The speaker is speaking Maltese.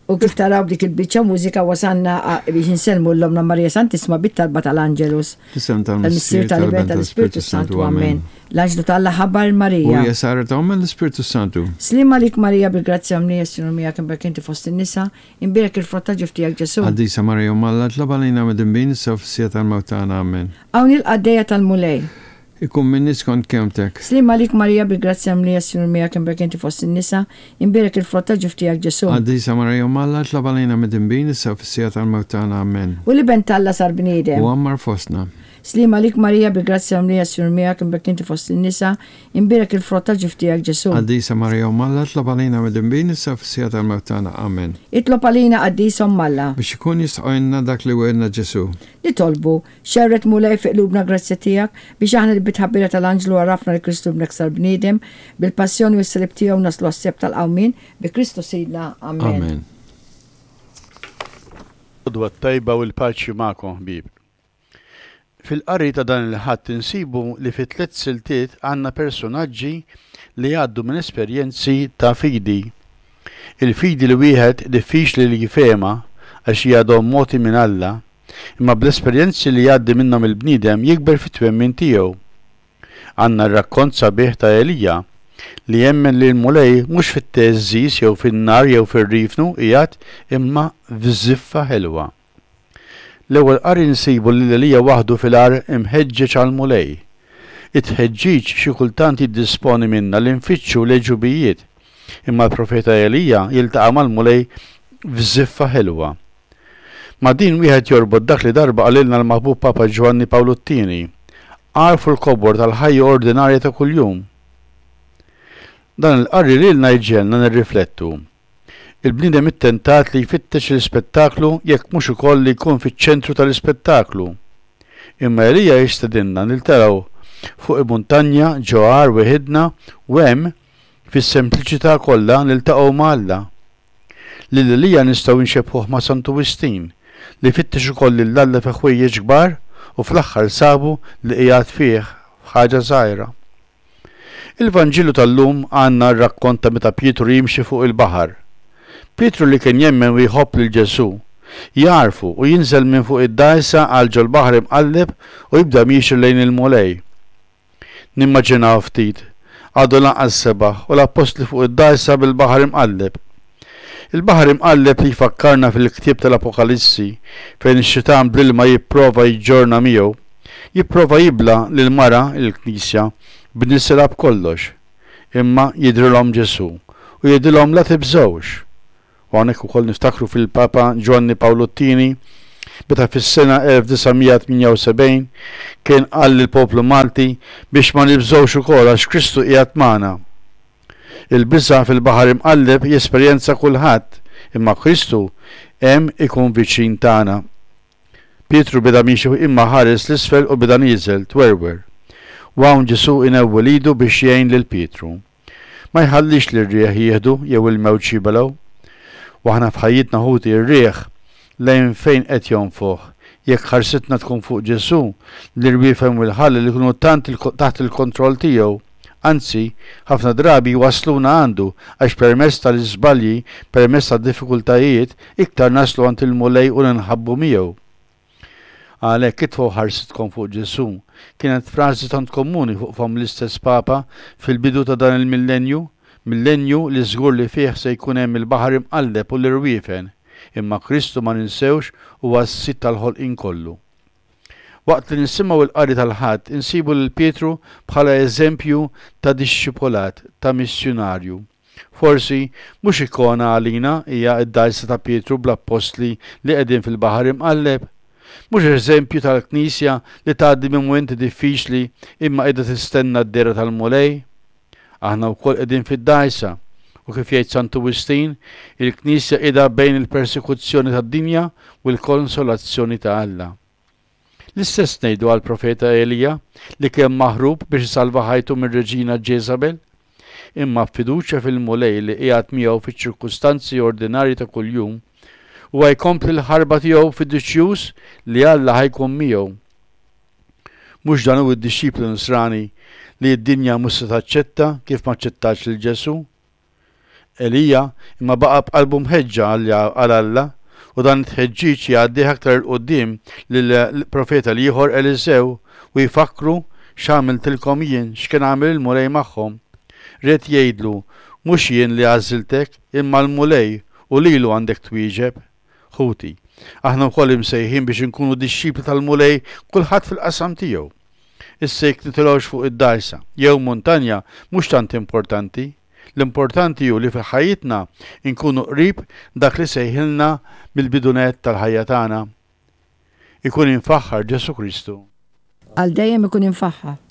U kif taraw b'dik il-biċċa mużika wasalna biex insellmu 'l Ommna Marija Santissima bit-talba tal-Angelus. Fl-isem tal-Missier, tal-Iben, tal-Ispirtu Santu. Amen. L-Anġlu t'Alla ħabbar 'il Marija. U hija saret omm l-Ispirtu Santu. Sliem għalik Marija bil-grazzja mlija s-Sinjur miegħek imbierka inti fost in-nisa, imbierek il-frott ta' ġuf tiegħek Ġesù. Qaddisa Marija Omm Alla, itlob għalina midinbin issa u fis-siegħa tal-mewt tagħna. Amen. Hawn hi l-qaddejja tal-Mulej. Ikun minni skont kelmtek. Sliem għalik Marija bil-grazzja mlija s-Sinjur miegħek imbierka inti fost in-nisa, imbierek il-frott ta' ġuf tiegħek Ġesù. Qaddisa Marija Omm Alla, itlob għalina midinbin issa u fis-siegħa tal-mewt tagħna. Amen. U l-Iben t'Alla sar bniedem. U għammar fostna. Sliem għalik Marija bil-grazzja mlija s-Sinjur miegħek imbierka inti fost in-nisa, imbierek il-frott ta' ġuf tiegħek Ġesù. Qaddisa Marija Omm Alla, itlob għalina midinbin issa u fis-siegħa tal-mewt tagħna. Amen. Itlob għalina Qaddisa Omm Alla. Biex ikun jistħoqilna dak li wegħedna Ġesù. Nitolbu, Xerred Mulej fi qlubna l-grazzja tiegħek, biex aħna li bit-tħabbira tal-anġlu għarafna li Kristu Ibnek sar bniedem, bil-passjoni u s-salib tiegħu naslu għas-sebħ tal-qawmien, bi Kristu Sidna. Amen. Amen. L-għodwa t-tajba u l-paċi magħkom ħbieb. Fil-qari ta' dan il-Ħadd insibu li fi tlett siltiet għandna persunaġġi li jgħaddu minn esperjenzi ta' fidi. Il-fidi li wieħed diffiċli li jifehemha għax hija don mogħti minn Alla, Imma bl-esperjenzi li jgħaddi minnhom il-bniedem jikber fit-twemmin tiegħu. Għandna r-rakkont sabiħ ta' Elija, li jemmen li l-Mulej mhux fit-theżżiż jew fin-nar jew fir-riefnu qiegħed imma f'żiffa ħelwa. L-ewwel qari nsibu lil Elija waħdu fil-għar imħeġġeġ għall-Mulej. It-tħeġġiġ xi kultant jiddisponi minna li nfittxu l-għeġubijiet, imma l-profeta Elija jiltaqa' mal-Mulej f'żiffa ħelwa. Ma' din wieħed jorbot dak li darba qalilna l-maħbub Papa Ġwanni Pawlu t-Tieni, Agħrfu l-kobor tal-ħajja ordinarja ta' kuljum. Dan il-qari lilna jġegħelna nirriflettu. Il-bniedem ittentat li jfittex l-ispettaklu jekk mhux ukoll li jkun fiċ-ċentru tal-ispettaklu. Imma Elija jistedinna niltelgħu fuq il-muntanja ġo għar weħidna u hemm, fis-sempliċità kollha, niltaqgħu ma' Alla. Lil Elija nistgħu nxebbħuh ma' Santu Wistin, li fittex ukoll lil Alla fi ħwejjeġ kbar u fl-aħħar sabu li qiegħed fih f'ħaġa żgħira. Il-Vanġelu tal-lum għandna r-rakkont ta' meta Pietru jimxi fuq il-baħar. Pietru li kien jemmen u jħobb lil Ġesù, jagħrfu u jinżel minn fuq id-dgħajsa għal ġol-baħar imqalleb u jibda miexi lejn il-Mulej. Nimmaġinaw ftit, għadu lanqas sebaħ u l-appostli fuq id-dgħajsa bil-baħar imqalleb. Il-baħar imqalleb li jfakkarna fil-ktieb tal-Apokalissi fejn ix-xitan bl-ilma jipprova jġorrna miegħu, jipprova jibla' lill-mara, il-Knisja, b'nisilha b'kollox. Imma jidhrilhom Ġesù u jgħidilhom la tibżgħux. U hawnhekk ukoll niftakru fil-Papa Ġwanni Pawlu t-Tieni meta fis-sena 1978 kien qal lill-poplu Malti biex ma nibżgħux ukoll għax Kristu qiegħed magħna. Il-biża' fil-baħar imqalleb jesperjenza kulħadd imma Kristu hemm ikun viċin tagħna. Pietru beda miexi imma ħares 'l isfel u beda nieżel, twerwer. U hawn Ġesù inewwel idu biex jgħin lil Pietru. Ma jħallix lir-riħ jieħdu jew il-mewġ jibelgħu. U aħna f'ħajjitna ħuti r-riħ lejn fejn qed jonfoħ? Jekk ħarsitna tkun fuq Ġesù, l-irwiefen u l-ħalel ikunu tant taħt il-kontroll tiegħu. Anzi, ħafna drabi jwassluna għandu għax permezz tal-iżbalji, permezz tad-diffikultajiet, iktar naslu għand il-Mulej u ninħabbu miegħu. Għalhekk itfgħu ħarsitkom fuq Ġesù, kienet frażi tant komuni fuq fomm l-istess Papa fil-bidu ta' dan il-millenju, millenju li żgur li fih se jkun hemm il-baħar imqalleb u l-irwiefen, imma Kristu ma ninsewx huwa s-Sid tal-ħolqien kollu. Waqt li nisimgħu l-qari tal-Ħadd insibu lil Pietru bħala eżempju ta' dixxipulat, ta' missjunarju. Forsi, mhux ikona għalina hija d-dgħajsa ta' Pietru bl-appostli li qegħdin fil-baħar imqalleb? Mhux eżempju tal-Knisja li tgħaddi minn mumenti diffiċli imma qiegħda tistenna d-dehra tal-Mulej? Aħna wkoll qegħdin fid-dgħajsa, u kif jgħid Santu Wistin, il-Knisja qiegħda bejn il-persekuzzjoni tad-dinja u l-konsolazzjoni ta' Alla. L-istess ngħidu għall-profeta Elija li kien maħrub biex isalva ħajtu mir-reġina Ġeżabel. Imma b'fiduċja fil-Mulej li qiegħed miegħu fiċ-ċirkustanzi ordinarji ta' kuljum, huwa jkompli l-ħarba tiegħu fiduċjuż li Alla ħa jkun miegħu. Mhux dan hu d-dixxiplu Nisrani li d-dinja mhux se taċċetta kif m'aċċettatx lil Ġesù? Elija imma baqa' b'qalbu mħeġġa għal Alla u dan it-tħeġġiġ jgħaddih aktar 'il quddiem lill-profeta l-ieħor Eliżew u jfakkru x'għamiltilkom jien, x'kien għamel il-Mulej magħhom. Ried jgħidlu, mhux jien li għażiltek, imma l-Mulej u lilu għandek twieġeb. Ħuti, aħna wkoll imsejħin biex inkunu dixxipli tal-Mulej kulħadd fil-qasam tiegħu. Issa jekk nitilgħux fuq id-dgħajsa jew muntanja mhux tant importanti. L-importanti hu li fil-ħajjitna nkunu qrib dak li sejħilna mill-bidu nett tal-ħajja tagħna. Ikun imfaħħar Ġesù Kristu. Għal dejjem ikun imfaħħar.